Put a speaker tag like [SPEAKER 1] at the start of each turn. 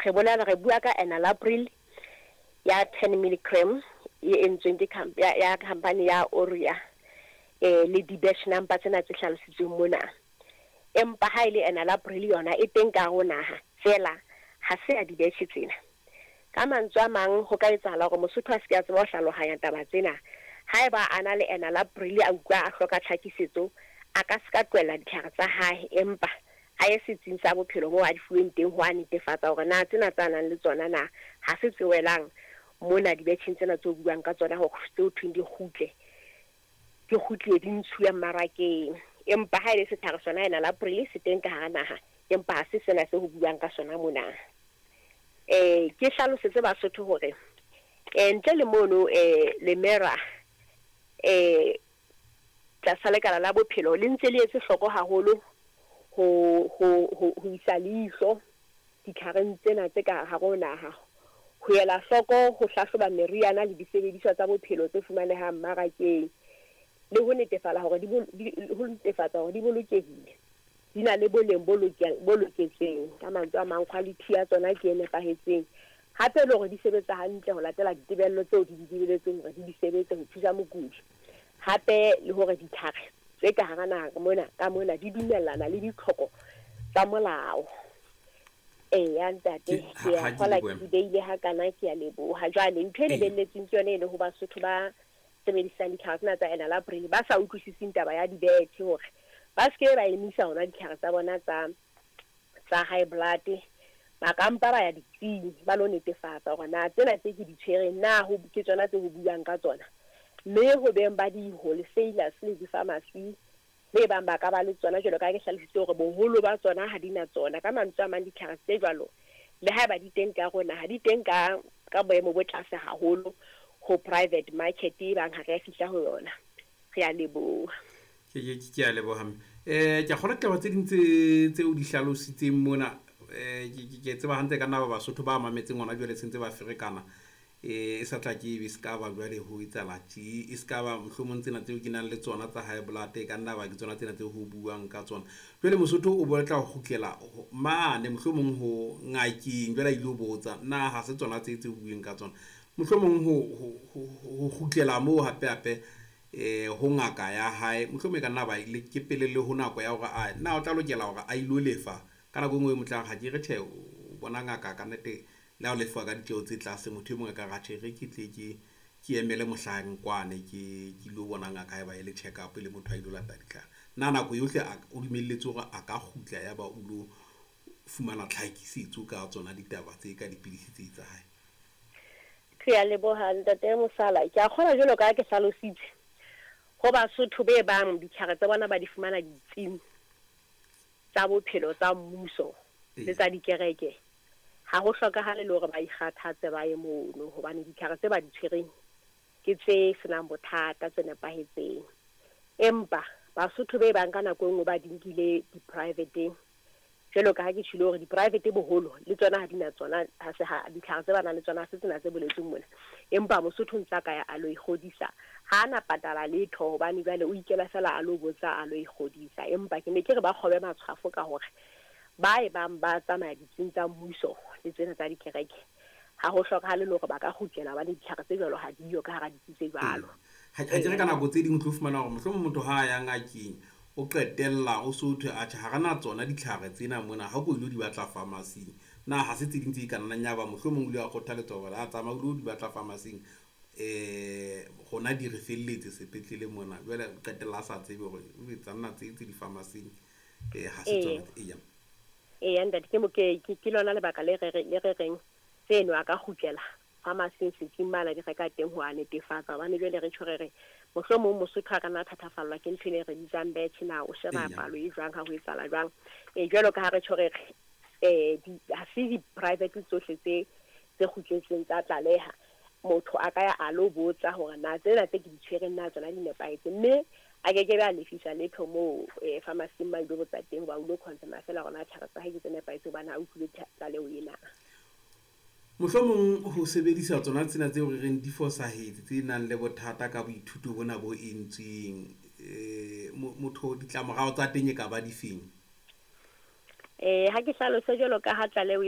[SPEAKER 1] Re bolela re bua ka enalapril ya 10 milligram e entsweng ke ya company ya Oria, le di-batch number tsena tse hlalositsweng mona. Empa ha e le enalapril yona e teng ka hare ho naha, feela ha se ya di-batch tsena. Ka mantswe a mang, ho ka etsahala hore Mosotho a se ke a tseba ho hlalohanya taba tsena. Haeba a na le enalapril a utlwa a hloka tlhakisetso, a ka se ka tlohella ditlhare tsa hae, empa a ye setsing sa bophelo moo a di fuweng teng ho a netefatsa hore na tsena tsa nang le tsona na ha se tse welang mona dibetjheng tsena tse o buang ka tsona, hore tse ho thweng di kgutle, di kgutlie di ntshuwe mmarakeng. Empa ha e le setlhare sona enalapril se teng ka hara naha, empa ha se sena se ho buang ka sona mona. Ke hlalosetse Basotho hore ntle le mono, Lemera tlasa lekala la bophelo le ntse le etse hloko haholo ho isa leihlo ditlhareng tsena tse ka hare ho naha, ho ela hloko ho hlahloba meriana le disebediswa tsa bophelo tse fumanehang mmarakeng, le ho netefala hore di ho netefatsa hore di bolokehile, di na le boleng bo loketseng. Ka mantswe a mang, quality ya tsona ke e nepahetseng, hape le hore di sebetsa hantle ho latela ditebello tseo di di lebeletseng hore di di sebetse ho thusa mokudi, hape le hore ditlhare tse ka hara naha mona ka mona di dumellana le ditlhoko tsa molao. Eya ntate, ke a kgola ke di beile hakana, ke a leboha. Jwale ntho e lebelletsweng ke yone e le ho Basotho ba sebedisang ditlhare tsena tsa enalapril, ba sa utlwisising taba ya dibethe, hore ba se ke ba emisa hona ditlhare tsa bona tsa high blood, ba ka mpa ba ya ditsing ba lo netefatsa hore na tsena tse ke di tshwereng na ho ke tsona tse ho buang ka tsona. Mme ho beng ba di-wholesalers le di-pharmacy be bang ba ka ba le tsona, jwalo ka ha ke hlalositse hore boholo ba tsona ha di na tsona. Ka mantswe a mang, ditlhare tse jwalo le haeba di teng ka rona, ha di teng ka boemo bo tlase haholo ho private market e bang ha re a fihla ho yona. Re a leboha.
[SPEAKER 2] Ke a leboha. Ke a kgolwa ditaba tse ding tse o di hlalositseng mona, ke tseba hantle ka nna ba Basotho ba mametseng hona jwale sentse ba ferekana. E sa tla ke ebe se ka ba jwale ho etsahala tje, e se ka ba mohlomong tsena tseo ke nang le tsona tsa high blood, e ka nna ba ke tsona tsena tseo ho buang ka tsona. Jwale Mosotho o batla ho kgutlela mane mohlomong ho ngakeng, jwale a ilo botsa na ha se tsona tse o bueng ka tsona. Mohlomong ho kgutlela moo hape hape ho ngaka ya hae, mohlomong e ka nna ba le ke pele le ho nako ya hore a na o tla lokela hore a ilo lefa ka nako e nngwe. Motlang ha ke re tjhe, o bona ngaka ka nnete le ha o lefa ka ditjeho tse tlase, motho e mong a ka re tjhe, re ke tle ke emele mohlang kwane ke ilo bona ngaka, haeba e le check up le motho a ilo lata ditlhare. Na nako yohle o dumelletswe hore a ka kgutla ya ba o lo fumana tlhakisetso ka tsona ditaba tse ka dipidisi tse tsa hae?
[SPEAKER 1] Ke a leboha ntate Mosala. Ke a kgolwa jwalo ka ha ke hlalositse ho Basotho be bang ditlhare tsa bona ba di fumana ditsing tsa bophelo tsa mmuso le tsa dikereke, ha ho hlokahale le hore ba ikgathatse ba ye mono, hobane ditlhare tse ba di tshwereng ke tse senang bothata, tse nepahetseng. Empa Basotho be bang ka nako e nngwe ba di nkile di-private-eng, jwalo ka ha ke tjhilo hore di-private boholo le tsona ha di na tsona, ha se ha ditlhare tse ba nang le tsona ha se tsena tse boletsweng mona. Empa Mosotho ntse a ka ya a lo ikgodisa, ha a na patala letho, hobane jwale o ikela fela a lo botsa, a lo ikgodisa. Empa ke ne ke re ba kgobe matshwafo ka hore ba e bang ba tsamaya ditsing tsa mmuso le tsena tsa dikereke, ha ho hlokahale le hore ba ka kgutlela, hobane ditlhare tse jwalo ha diyo ka hara ditsi tse jwalo.
[SPEAKER 2] Ha ke re ka nako tse ding o tlo fumana hore mohlomong motho ha a ya ngakeng o qetella o so thwe atjhe, ha re na tsona ditlhare tsena mona, ha ko ilo di batla pharmacy-ing. Na ha se tse ding tse ka nnang ya ba mohlomong o ile wa kgothaletswa hore a tsamaya o lo di batla pharmacy-ing, rona di re felletse sepetlele mona, jwale o qetella a sa tsebe hore o etsa nna tse tse di-pharmacy-ing, ha se tsona. Eya.
[SPEAKER 1] Eya ntate, ke mo ke lona lebaka le re reng tseno a ka kgutlela pharmacy setsing mane di reka teng ho a netefatsa, hobane jwale re tjho re re mohlomong Mosotho a ka nna thathafallwa ke ntho e re bitsang batch, na o sheba palo e jwang, ha ho etsahala jwang. Jwalo ka ha re tjho re re ha se di-private tsohle tse kgutletseng tsa tlaleha, motho a ka ya a lo botsa hore na tsena tse ke di tshwereng na tsona di nepahetse, mme a ke ke be a lefisa letho moo pharmacy ma ilo botsa teng, hoba o lo confirm fela hore na tlhare tsa hae ke tse nepahetse, hobane ha utlwile tlaleho ena.
[SPEAKER 2] Mohlomong ho sebedisa tsona tsena tseo re reng di fosahetse, tse nang le bothata ka boithuto bona bo entsweng, motho ditlamorao tsa teng e ka ba difeng?
[SPEAKER 1] Ha ke hlalose jwalo ka ha tlaleho